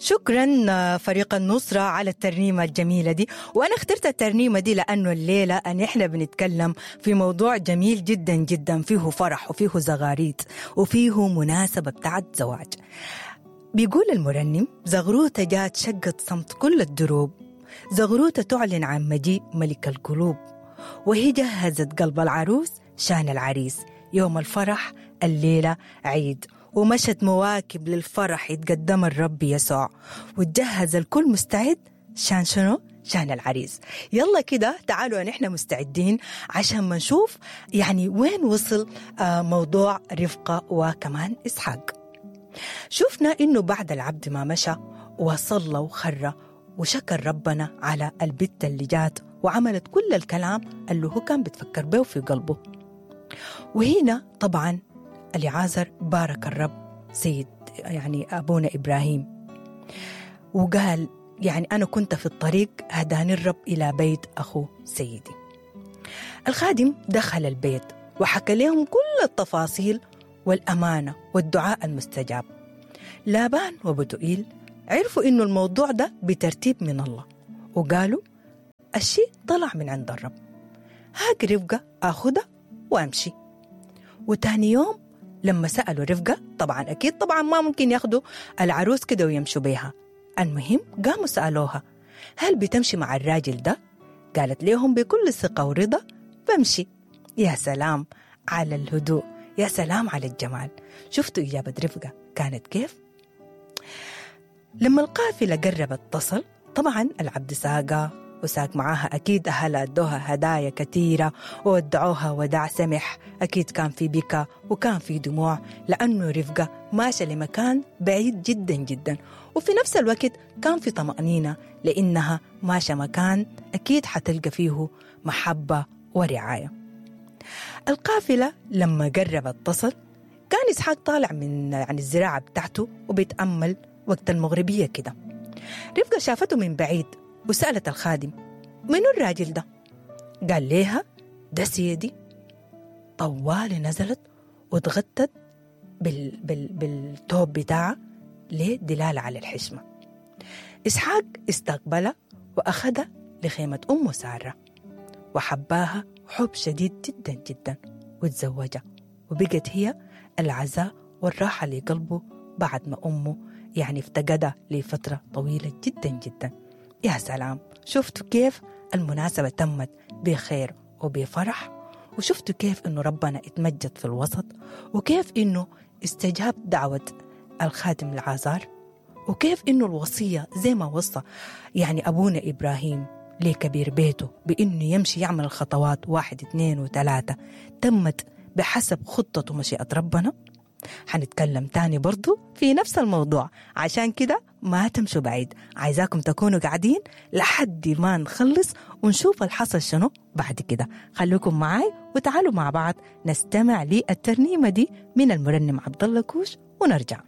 شكرا فريق النصرة على الترنيمة الجميلة دي. وأنا اخترت الترنيمة دي لأنه الليلة أن إحنا بنتكلم في موضوع جميل جدا جدا، فيه فرح وفيه زغاريت وفيه مناسبة بتاعت زواج. بيقول المرنم: زغروتة جات شقت صمت كل الدروب، زغروتة تعلن عن مجيء ملك القلوب، وهي جهزت قلب العروس شان العريس، يوم الفرح الليلة عيد، ومشت مواكب للفرح يتقدم الرب يسوع، وتجهز الكل مستعد شان شنو؟ شان العريس. يلا كده تعالوا نحن مستعدين عشان ما نشوف يعني وين وصل موضوع رفقة وكمان إسحاق. شفنا إنه بعد العبد ما مشى وصلى وخر وشكر ربنا على البت اللي جات وعملت كل الكلام اللي هو كان بتفكر به في قلبه. وهنا طبعا اليعازر بارك الرب سيد يعني أبونا إبراهيم، وقال يعني أنا كنت في الطريق هداني الرب إلى بيت أخو سيدي. الخادم دخل البيت وحكى لهم كل التفاصيل والأمانة والدعاء المستجاب. لابان وبتوئيل عرفوا إنه الموضوع ده بترتيب من الله، وقالوا الشيء طلع من عند الرب، هاك رفقة أخذها وأمشي. وتاني يوم لما سألوا رفقة، طبعا أكيد طبعا ما ممكن ياخدوا العروس كده ويمشوا بيها، المهم قاموا سألوها هل بتمشي مع الراجل ده؟ قالت لهم بكل ثقة ورضا بمشي. يا سلام على الهدوء، يا سلام على الجمال. شفتوا إجابة رفقة كانت كيف؟ لما القافلة قربت تصل، طبعا العبد ساقة وساق معاها أكيد أهلها أدوها هدايا كثيرة وودعوها وداع سمح، أكيد كان في بكا وكان في دموع، لأنه رفقة ماشية لمكان بعيد جدا جدا، وفي نفس الوقت كان في طمأنينة لأنها ماشية مكان أكيد حتلقى فيه محبة ورعاية. القافلة لما قربت تصل، كان إسحاق طالع من يعني الزراعة بتاعته وبيتأمل وقت المغربية كده. رفقة شافته من بعيد وسألت الخادم منو الراجل ده؟ قال ليها ده سيدي. طوال نزلت وتغطت بالتوب بتاعها لدلالة على الحشمة. إسحاق استقبلها وأخذها لخيمة أمه سارة، وحباها حب شديد جدا جدا، وتزوجها، وبقت هي العزاء والراحة لقلبه بعد ما أمه يعني افتقدها لفترة طويلة جدا جدا. يا سلام، شفتوا كيف المناسبة تمت بخير وبفرح، وشفتوا كيف إنه ربنا اتمجد في الوسط، وكيف إنه استجاب دعوة الخادم العازار، وكيف إنه الوصية زي ما وصى يعني أبونا إبراهيم لكبير بيته بإنه يمشي يعمل الخطوات 1 2 و3 تمت بحسب خطة ومشيئة ربنا. حنتكلم تاني برضو في نفس الموضوع، عشان كده ما تمشوا بعيد، عايزاكم تكونوا قاعدين لحد ما نخلص ونشوف الحصل شنو بعد كده. خلوكم معاي وتعالوا مع بعض نستمع للترنيمة دي من المرنم عبد الله كوش ونرجع.